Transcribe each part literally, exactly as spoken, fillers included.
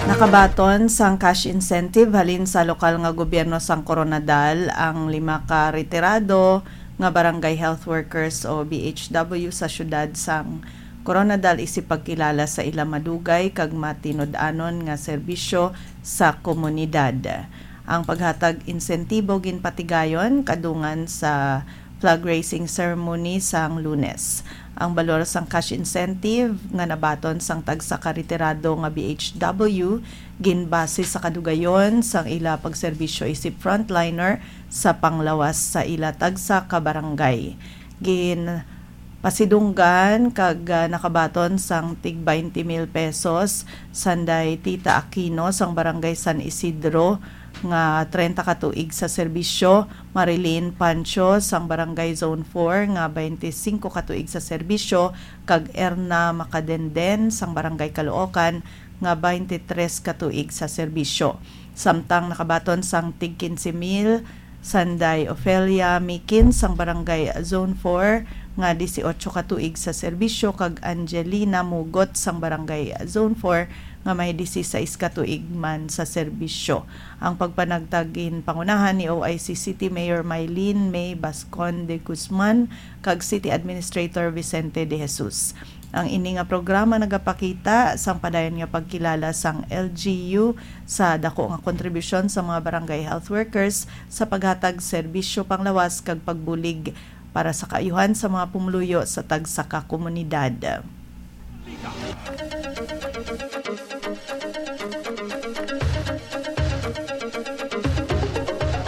Nakabaton sang cash incentive halin sa lokal nga gobyerno sang Koronadal ang lima ka retirado nga barangay health workers o B H W sa siyudad sang Koronadal isip pagkilala sa ila madugay kag matinud-anon nga serbisyo sa komunidad. Ang paghatag insentibo ginpatigayon kadungan sa flag raising ceremony sang Lunes. Ang balor sang cash incentive nga nabaton sang tagsa ka retirado nga B H W ginbase sa kadugayon sang ila pagserbisyo isip frontliner sa panglawas sa ila tagsa ka barangay. Ginpasidunggan kag, ah, nakabaton sang tig twenty mil pesos, sanday Tita Aquino sang Barangay San Isidro nga treinta ka tuig sa serbisyo, Marilyn Pancho sang Barangay Zone four nga twenty-cinco ka tuig sa serbisyo, kag Erna Macadenden sang Barangay Caloocan nga twenty-tres ka tuig sa serbisyo. Samtang nakabaton sang tig quince mil, sanday Ofelia Mikin sang Barangay Zone four nga dieciocho ka tuig sa serbisyo, kag Angelina Mugot sang Barangay Zone four nga may dieciséis ka tuig man sa serbisyo. Ang pagpanagtag ginpangunahan ni O I C City Mayor Mylene May Bascon de Guzman kag City Administrator Vicente de Jesus. Ang ini nga programa nagapakita sang padayon nga pagkilala sang L G U sa dako nga kontribusyon sa mga barangay health workers sa paghatag serbisyo panglawas kag pagbulig para sa kaayuhan sa mga pumuluyo sa tagsa ka komunidad.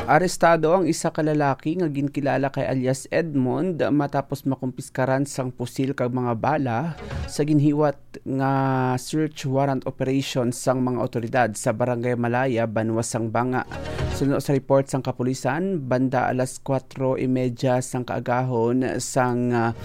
Arestado ang isa ka lalaki nga ginkilala kay alias Edmond matapos makumpiskaran sang pusil kag mga bala sa ginhiwat nga search warrant operation sang mga awtoridad sa Barangay Malaya, Banwa sang Banga. Suno sa report sang kapulisan, banda alas kuwatro y medya sang kaagahon sang, ah,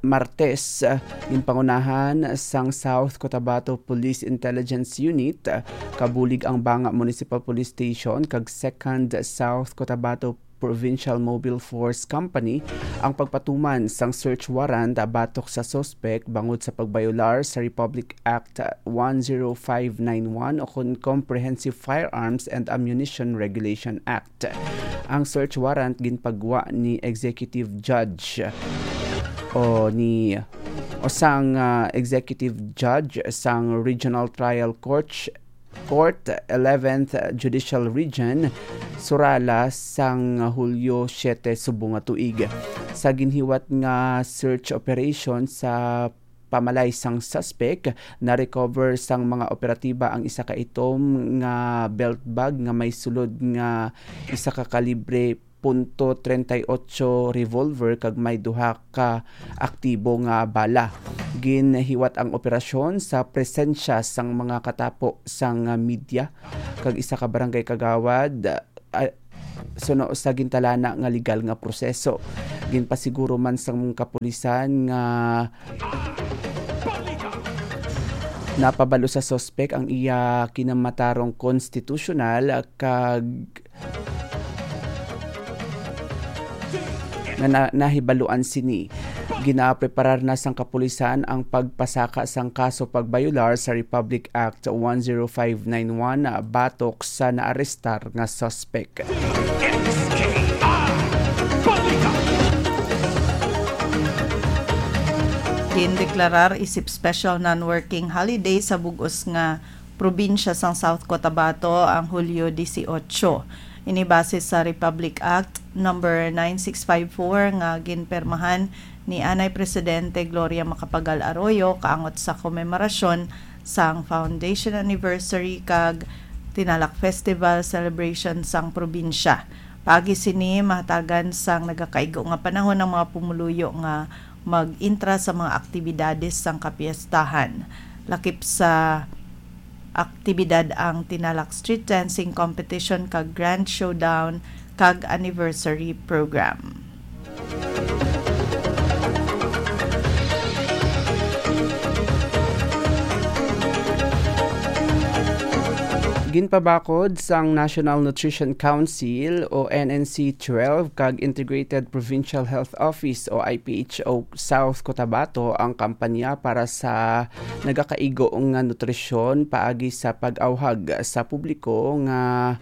Martes, ah, ginpangunahan sang South Cotabato Police Intelligence Unit, ah, kabulig ang Banga Municipal Police Station kag Second South Cotabato Provincial Mobile Force Company ang pagpatuman sang search warrant batok sa suspek bangod sa pagbayolar sa Republic Act one zero five nine one o kon Comprehensive Firearms and Ammunition Regulation Act. Ang search warrant ginpagwa ni Executive Judge o ni o sang, ah, Executive Judge sang Regional Trial Court Court, eleventh Judicial Region, Surala, sang Hulyo siete subong nga tuig. Sa ginhiwat nga search operation sa pamalay sang suspek, na-recover sang mga operatiba ang isa ka itom nga belt bag nga may sulod nga isa ka kalibre punto treinta y ocho revolver kag may duha ka aktibo nga bala. Ginhiwat ang operasyon sa presensya sang mga katapo sang media kag isa ka barangay kagawad, ah, suno sa gintalana nga legal nga proseso. Ginpasiguro man sang kapulisan nga napabalo sa suspek ang iya kinamatarong konstitusyonal kag nga na-, nahibaluan sini. Ginapreparar na sang kapulisan ang pagpasaka sang kaso pagbayolar sa Republic Act one zero five nine one batok sa naarestar nga suspek. Gindeklarar isip special non-working holiday sa bug-os nga probinsya sang South Cotabato ang Hulyo dieciocho. Ini base sa Republic Act number nine six five four nga ginpirmahan ni anay Presidente Gloria Macapagal Arroyo kaangot sa komemorasyon sang foundation anniversary kag Tinalak Festival celebration sang probinsya. Paagi sini, mahatagan sang nagakaigo nga panahon ang mga pumuluyo nga mag-intra sa mga aktibidades sang kapiestahan, lakip sa aktibidad ang Tinalak Street Dancing Competition kag Grand Showdown kag Anniversary Program. Ginpabakod sang National Nutrition Council o N N C twelve kag Integrated Provincial Health Office o I P H O South Cotabato ang kampanya para sa nagakaigo nga nutrisyon paagi sa pag-awhag sa publiko nga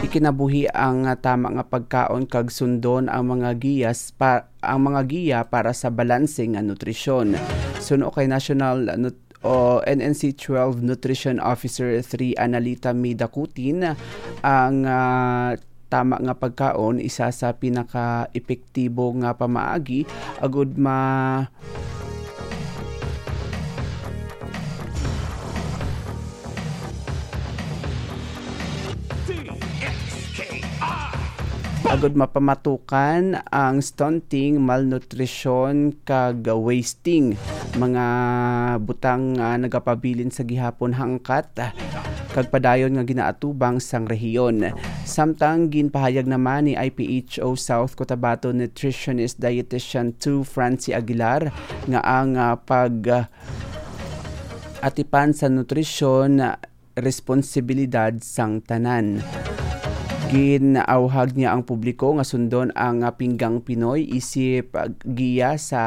ikinabuhi ang tama nga pagkaon kag sundon ang mga giyas pa ang mga giya para sa balanse nga nutrisyon. Suno kay National Nut-, o N N C twelve Nutrition Officer three Analita May Dacutin, ang, ah, tama nga pagkaon isa sa pinaka-epektibo nga pamaagi agud ma- agud mapamatukan ang stunting, malnutrisyon, kag wasting, mga butang nga nagapabilin sa gihapon hangkat kag padayon nga ginaatubang sang rehiyon. Samtang ginpahayag naman ni I P H O South Cotabato Nutritionist Dietitian two Francie Aguilar nga ang, ah, pag, ah, atipan sa nutrisyon responsibilidad sang tanan. Ginauhag niya ang publiko nga sundon ang, ah, Pinggang Pinoy isip, ah, giya sa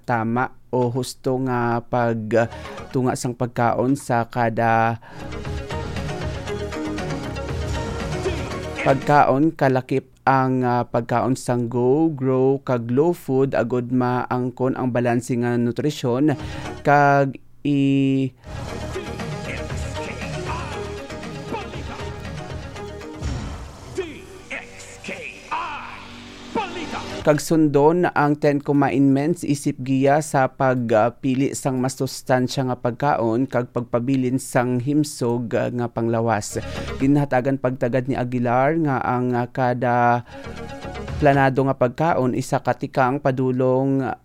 tama o husto nga pagtunga sang pagkaon sa kada pagkaon, kalakip ang, ah, pagkaon sang go, grow, kag low food agud maangkon ang balanse nga nutrisyon kag i- kag sundon ang Ten Commandments isip giya sa pagpili sang masustansya nga pagkaon kag pagpabilin sang himsog nga panglawas. Ginhatagan pagtagad ni Aguilar nga ang kada planado nga pagkaon isa ka tikang padulong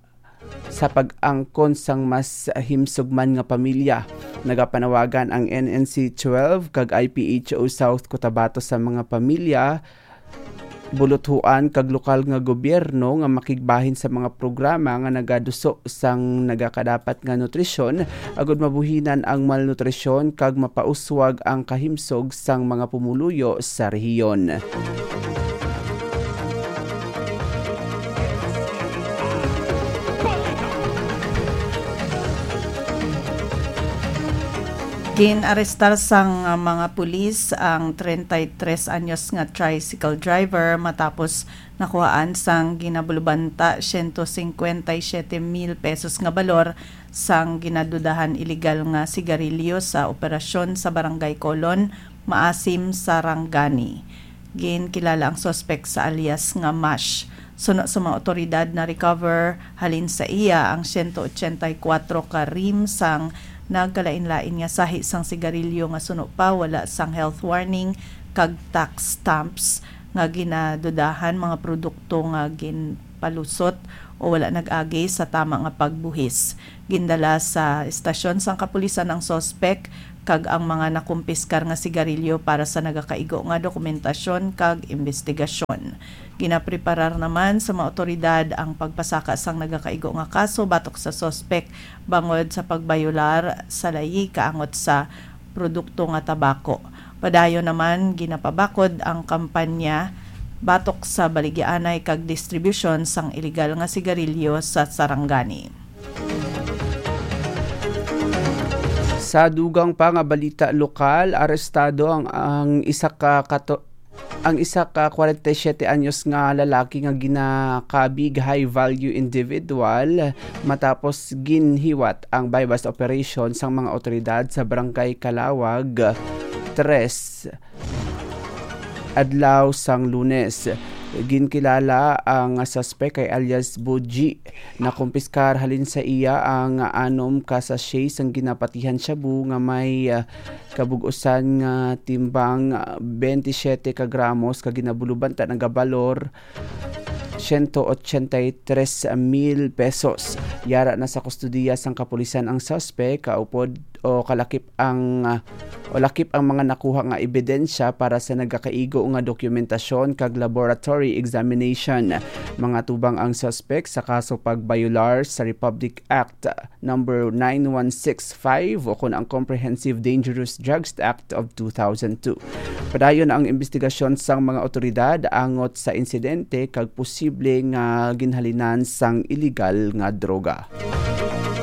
sa pag-angkon sang mas himsog man nga pamilya. Nagapanawagan ang N N C twelve kag I P H O South Cotabato sa mga pamilya, buluthuan kag lokal nga gobyerno nga makigbahin sa mga programa nga nagaduso sang nagakadapat nga nutrisyon, agud mabuhinan ang malnutrisyon kag mapauswag ang kahimsog sang mga pumuluyo sa rehiyon. Gin-arestar sang, ah, mga pulis ang treinta y tres anyos nga tricycle driver matapos nakuhaan sang ginabulubanta siyento singkwenta y siyete mil pesos nga balor sang ginadudahan iligal nga sigarilyo sa operasyon sa Barangay Colon, Maasim, Sarangani. Ginkilala ang suspek sa alias nga Mash. Suno sa mga otoridad, na-recover halin sa iya ang siyento otsenta y kuwatro ka rim sang nagkalain-lain nga sahi sang sigarilyo nga suno pa wala sang health warning kag tax stamps nga ginadudahan mga produkto nga ginpalusot o wala nag-agi sa tama nga pagbuhis. Gindala sa estasyon sang kapulisan ang suspek kag ang mga nakumpiskar nga sigarilyo para sa nagakaigo nga dokumentasyon kag imbestigasyon. Ginapreparar naman sa mga otoridad ang pagpasaka sang nagakaigo nga kaso batok sa suspek bangod sa pagbayolar sa layi kaangot sa produkto nga tabako. Padayon naman, ginapabakod ang kampanya batok sa baligyaanay kag distribusyon sang iligal nga sigarilyo sa Sarangani. Sa dugang pa nga balita lokal, arestado ang, ang isa ka kato-, ang isa ka kwarenta y siyete anyos nga lalaki nga ginakabig high value individual matapos ginhiwat ang buy-bust operation sang mga otoridad sa Barangay Calawag tres adlaw sang Lunes. Ginkilala ang suspek kay alias Boji. Nakumpiskar halin sa iya ang anom ka sachet sang ginapatihan shabu nga may, ah, kabug-usan nga timbang, ah, twenty-seven ka gramos kag ginabulubanta nagabalor siyento otsenta y tres mil pesos. Yara na sa kustodiya sang kapulisan ang suspek, kaupod o kalakip ang, ah, o lakip ang mga nakuha nga ebidensya para sa nagakaigo nga dokumentasyon kag laboratory examination. Mga tubang ang suspect sa kaso pagbayolar sa Republic Act number nine one six five o kon ang Comprehensive Dangerous Drugs Act of two thousand two. Padayon ang imbestigasyon sang mga otoridad angot sa insidente kag posible nga ginhalinan sang iligal nga droga.